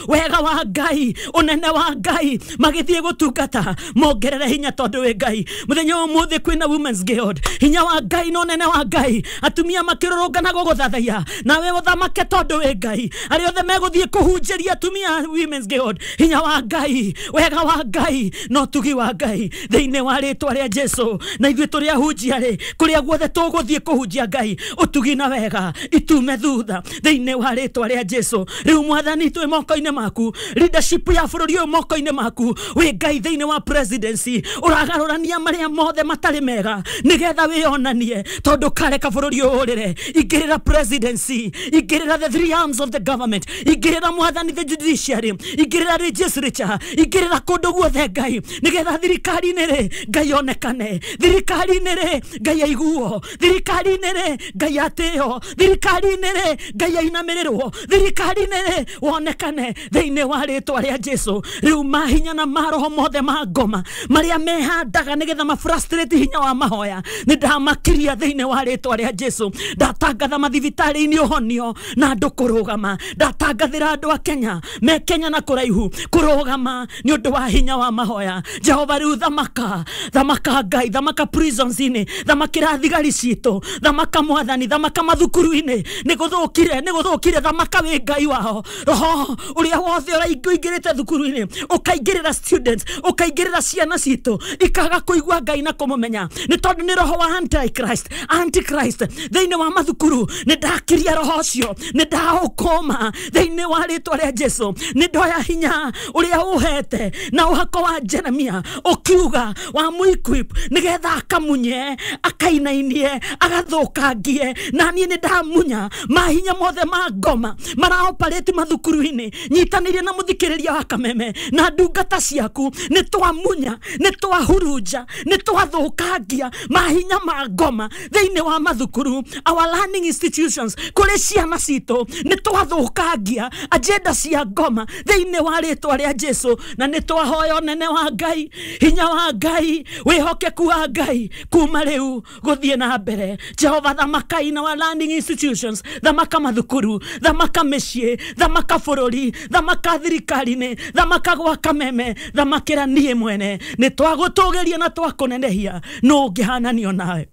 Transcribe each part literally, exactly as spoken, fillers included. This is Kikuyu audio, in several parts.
Wega wa Ngai, unene wa Ngai, magithie gutungata mongerere hinya tondu wi Ngai. Muthenya umuthi kwina Women's Guild, hinya wa Ngai na unene wa Ngai, atumia makirurungana guguthathaiya nawe uthamake tondu wi Ngai. Aria othe meguthie kuhunjiria atumia Women's Guild, hinya wa Ngai, wega wa Ngai na utugi wa Ngai thiini wa ritwa ria Jesu. Na ithuĩ tũrĩ ahunjia rĩ, kũrĩa guothe tũgũthiĩ kũhunjia Ngai, ũtugi na wega itume thutha thĩinĩ wa rĩtwa rĩa Jesu. Rĩu Mwathani twĩ moko-inĩ maku, leadership ya bũrũri ũyũ moko-inĩ maku, wĩ Ngai thĩinĩ wa presidency, ũragarũrania marĩa mothe matarĩ mega nĩgetha wĩonanie, tondũ kareka bũrũri ũyũ ũrĩre. Ingĩrĩra presidency, ingĩrĩra the three arms of the government, ingĩrĩra Mwathani the judiciary, ingĩrĩra legislature, ingĩrĩra kũndũ guothe Ngai, nĩgetha thirikari-inĩ rĩ Ngai onekane, thirikari-inĩ rĩ Ngai aiguo, thirikari-inĩ rĩ Ngai atĩo, thirikari-inĩ rĩ Ngai ainamĩrĩrwo, thirikari-inĩ rĩ wonekane thĩinĩ wa rĩtwa rĩa Jesu. Rĩu mahinya na maroho mothe ma ngoma marĩa mehandaga nĩgetha ma frustrate hinya wa mahoya, nĩ ndamakiria thĩinĩ wa rĩtwa rĩa Jesu. Ndatangatha mathibitarĩ-inĩ ũhonio na andũ kũrũgama, ndatangathĩra andũ a Kenya me Kenya na kũraihu kũrũgama nĩ ũndũ wa hinya wa mahoya. Jehova rĩu thamaka, thamaka Ngai, thamaka prisons-inĩ, thamakĩra thigari citũ, thamaka Mwathani, thamaka mathukuru-inĩ, nĩ gũthũkire, nĩ gũthũkire, thamaka wĩ Ngai wao. Roho ũrĩa wothe ũraingĩrĩte thukuru-inĩ ũkaingĩrĩra students, ũkaingĩrĩra ciana citũ ikaga kũigua Ngai na kũmũmenya, nĩ tondũ nĩ roho wa antichrist, antichrist thĩinĩ wa mathukuru. Nĩ ndakiria roho ũcio, nĩ ndaũkũma thĩinĩ wa rĩtwa rĩa Jesu. Nĩ ndoya hinya ũrĩa ũhete na ũhako wa Jeremia ũkiuga wa mũequip nĩgetha akamunye, akainainie, agathũkangie, na niĩ nĩ ndamunya mahinya mothe ma ngoma maraoparĩti mathukuru-inĩ. Nyitanĩire na mũthikĩrĩria wa Kameme na ndungata ciaku, nĩ twamunya, nĩ twahurunja, nĩ twathũkangia mahinya ma ngoma thĩinĩ wa mathukuru, our learning institutions, kũrĩ ciana citũ, nĩ twathũkangia agenda cia ngoma thĩinĩ wa rĩtwa rĩa Jesu. Na nĩ twahoya ũnene wa Ngai, hinya wa Ngai, wĩhokeku wa Ngai kuma rĩu gũthiĩ na mbere. Jehova thamaka in our learning institutions, thamaka mathukuru, thamaka mĩciĩ, thamaka bũrũri, thamaka thirikari-inĩ, thamaka gwa Kameme, thamakĩra niĩ mwene. Nĩ twagũtũgĩria na twakũnenehia, nũ ũngĩhananio nawe?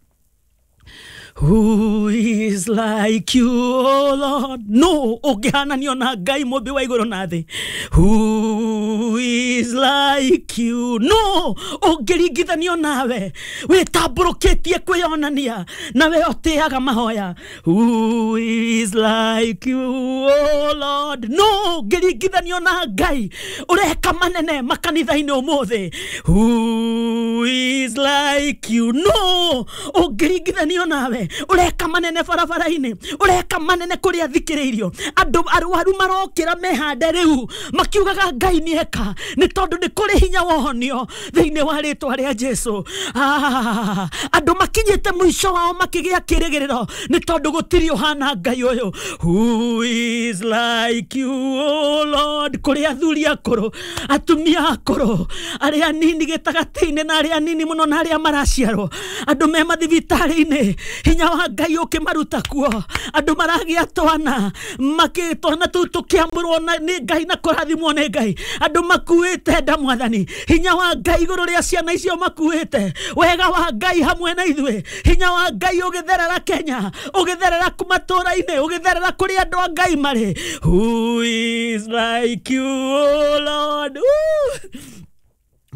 Who is like you, O Lord? No, ũngĩhananio na Ngai mũmbi wa igũrũ na thĩ. Who is like you? No, ũngĩringithanio nawe, wĩtambũrũkĩtie kwĩyonania, nawe ũtĩaga mahoya. Who is like you, O Lord? No, ũngĩringithanio na Ngai ũreka manene makanitha-inĩ ũmũthĩ. Who is like you? No, ũngĩringithanio nawe ũreka manene barabara-inĩ, ũreka manene kũrĩa thikĩrĩirio. Andũ arwaru marokĩra mehande rĩu makiugaga Ngai nĩeka, nĩ tondũ nĩ kũrĩ hinya wohonio thĩinĩ wa rĩtwa rĩa Jesu. Ah, andũ makinyĩte mũico wao makĩgĩa kĩrĩgĩrĩro, nĩ tondũ gũtirĩ ũhana Ngai ũyũ. Who is like you, O Lord? Kũrĩ athuri akũrũ, atumia akũrũ, arĩa anini gĩtagatĩ-inĩ na arĩa anini mũno na arĩa maraciarwo, andũ me mathibitarĩ-inĩ, hinya wa Ngai ũkĩmaruta kuo. Andũ maragĩa twana, makĩ twana tũu tũkĩamũrwo nĩ Ngai na kũrathimwo nĩ Ngai. Andũ makuĩte nda Mwathani, hinya wa Ngai igũrũ rĩa ciana icio makuĩte, wega wa Ngai hamwe na ithuĩ, hinya wa Ngai ũgĩtherera Kenya, ũgĩtherera matũũra-inĩ, ũgĩtherera kũrĩa andũ a Ngai marĩ. Who is like you, O Lord? Ooh.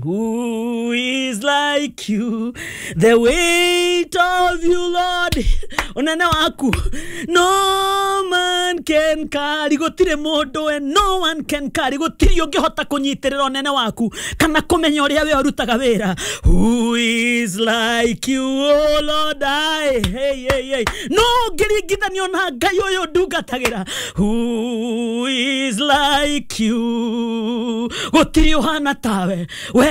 Who is like you? The weight of you, Lord. Unene waku. No man can carry. Gũtirĩ mũndũ and no one can carry. Gũtirĩ ũngĩhota kũnyitĩrĩra ũnene waku kana kũmenya ũrĩa we ũrutaga wĩra. Who is like you, O Lord? I, hey, hey, hey. No ũngĩringithanio na Ngai ũyũ ndungatagĩra. Who is like you? Gũtirĩ ũhana tawe. We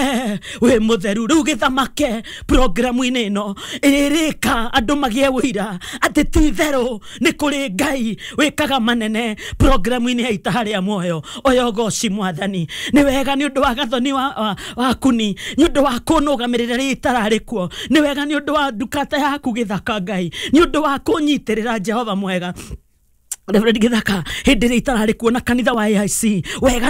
we mũtheru. Rĩu gĩthamake programu-inĩ ĩno ĩrĩka andũ magĩe wũira atĩ ti itherũ nĩ kũrĩ Ngai wĩkaga manene programu-inĩ ya Itaha rĩa Muoyo. Oya ũgoci Mwathani, nĩ wega nĩ ũndũ wa gathoni wa, wa, wakuni, nĩ ũndũ wa kũnũgamĩrĩra rĩrĩa itararĩ kuo, nĩ wega nĩ ũndũ wa ndungata yaku Gĩthaka Ngai, nĩ ũndũ wa kũnyitĩrĩra Jehova mwega Reverend Gĩthaka hĩndĩ ĩrĩa itararĩ kuo na kanitha wa A I C. Wega